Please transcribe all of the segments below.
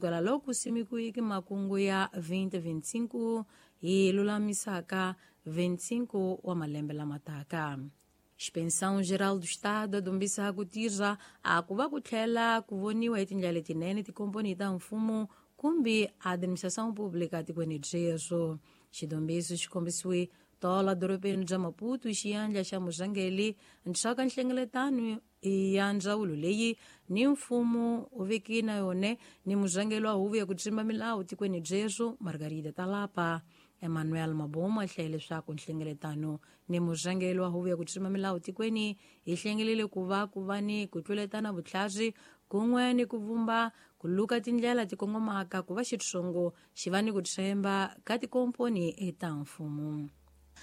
Kusukela loko simekiweke makungu ya 2025 hi lulamisaka 25 wa malembe lama taka. Inspeção Geral do Estado adombisa ku tirha a ku va ku tlhela ku voniwa hi tindlela letinene tikomponi ta mfumo kumbe administração pública tikweni byeswo. Xidombiso xi kombisiwe tola dorobeni bya Maputo hi xiyandla xa murhangeri nxaka nhlengeletano ya ndzawulo leyi ni mfumo u veki na yone ni murhangeri wa huvo ya ku tsimba milawu tikweni byeswo Margarida Talapa. Emmanuel Mabomo a hlaye leswaku nhlengeletano ni murhangeri wa huvo ya ku tsimba milawu tikweni hi hlengelele ku va ku va ni ku tluletana vutlhari kun'we ni ku vumba ku luka tindlela ti kongomaka ku va xitsongo xi va ni ku tshemba ka tikomponi ta mfumo.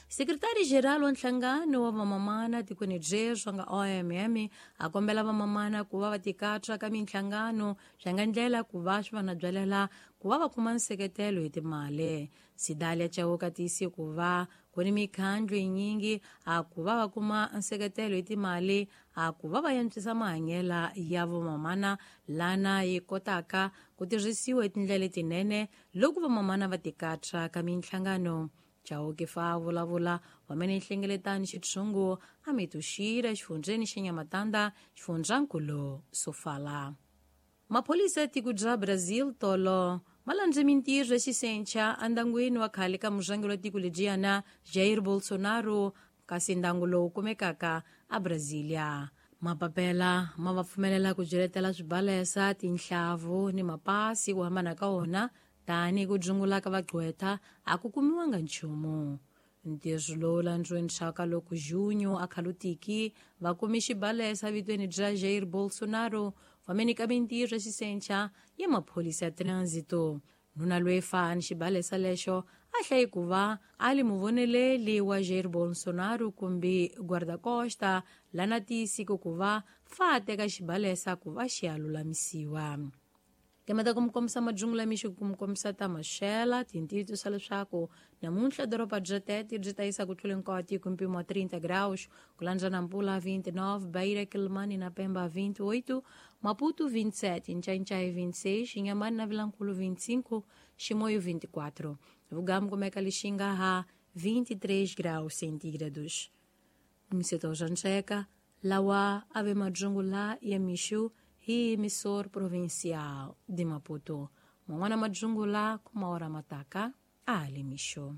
Sekretari Geral wa nhlangano wa vamamana tikweni byeswo nga OMM a kombela vamamana ku va va tikatsa ka minhlangano swi nga ndlela ku va swi va na byalela ku va va kuma nseketelo hi timali. Sidalia Chauka tiyise ku va ku ni mikhandlu yinyingi a ku va va kuma nseketelo hi timali a ku va va antswisa mahanyelo ya vamamana lana yi kotaka ku tirhisiwa hi tindlela letinene loko vamamana va tikatsa ka minhlangano. Chauke fa vulavula wamene nhlengeletano xitshungu a mituxira xifundzheni xa Nhamatanda xifundzankulu Sofala. Mapholisa ya tiko bya Brazil tolo ma landze mintirho ya xisencha endangwini wa khale ka murhangeri wa tiko lebyiyana Jair Bolsonaro kasi ndangu lowu kumekaka a Brasilia. Mapapela ma va pfumelela ku byeletela swibalesa, tinhlavu ni mapasi ku hambana ka wona tani ku dzungula ka vagqwetha a ku kumiwanga nchumu. Ntirho lowu landziwe nxaka loko Junho a khalutiki va kumi xibalesa vitweni bya Jair Bolsonaro fameni ka mintirho ya xisencha ya mapholisa ya trânsito. Nuna loyi fa ni xibalesa lexo a hlayi ku va a li muvoneleli wa Jair Bolsonaro kumbe guarda-costa lana tiyisiko ku va fa a teka xibalesa ku va xi ya lulamisiwa. Kemeta ku mi kombisa majungula mixo ku mi kombisa ta maxela tintiyiso swa leswaku namuntlha doroba bya Tete byi ta yisa ku tlula hinkwawo tiko mpimo wa 30 graus ku landza Nampula 29, Beira, Quelimane na Pemba 28, Maputo 27, Ncancai 26, Inhambane na Vilankulo 25, Chimoio 24. Vugamu kumeka Lixinga ha 23 graus centígrados. Mseto Jancheka, lawa ave majungula ya mixo hi emissor provincial de Maputo. Man'wana majungula kuma ora mataka a le mixo.